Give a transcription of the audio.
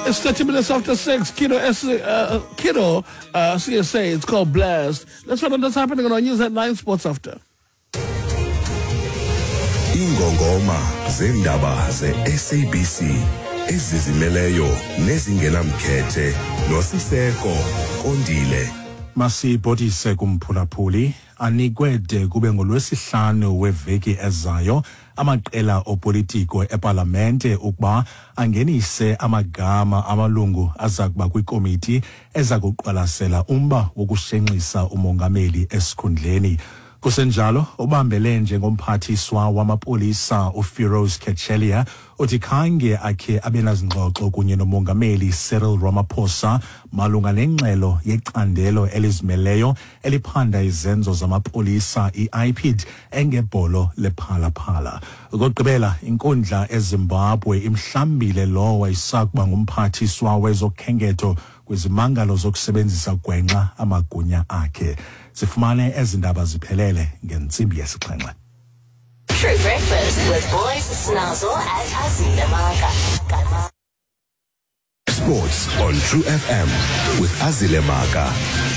It's 30 minutes after 6. Kido, S, Kido CSA, it's called Blast. Let's find out what's happening on our news at 9 Sports After. Ingongoma zendaba ze-SABC ezizimeleyo nezingenamkhethe noSiseko Kondile. Masibhodise kumphulaphuli anikwe de kube ngolwesihlanu weveki ezayo amaqela opolitiko epalamente ukuba angenise amagama amalungu aza kuba kwikomiti eza kuqwalasela umba wokushenxisa umongameli esikhundleni. Kusenjalo, ubambele njengomphathiswa wamapolisa uFiroz Cachalia uthi khange akhe abe nazingxoxo kunye nomongameli Cyril Ramaphosa malunga nengxelo yecandelo elizimeleyo eliphanda izenzo zamapolisa i-IPID engebholo lephalaphala. Okokugqibela, inkundla eZimbabwe imhlambile lowo wayesakuba ngumphathiswa wezokhenketho kwizimangalo zokusebenzisa gwenxa amagunya akhe. Sifumane ezi ndaba ziphelele ngentsimbi yesixhenxe. True Breakfast with Boys Snazzle and Azile Maka. Sports on True FM with Azile Maka.